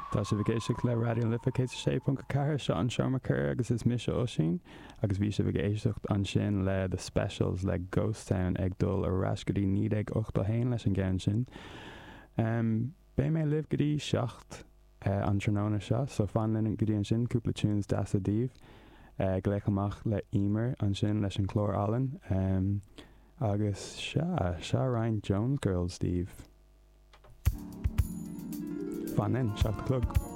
Tá sibh ag éisteacht le Raidió na Life 106.4, seo an Seomra Comhrá agus is mise Oisín agus bhí sibh ag éisteacht ansin le The Specials le Ghost Town ag dul ar ais go dtí 1981 leis an gceann sin. Beidh mé libh go dtí 7 an tráthnóna seo so fan linn go dtí ansin, cúpla tunes deasa daoibh. Glaoch amach le Emer ansin leis an chlár álainn. Agus sea, seo roinnt Jones Girls daoibh. Fan linn, 7 a chlog.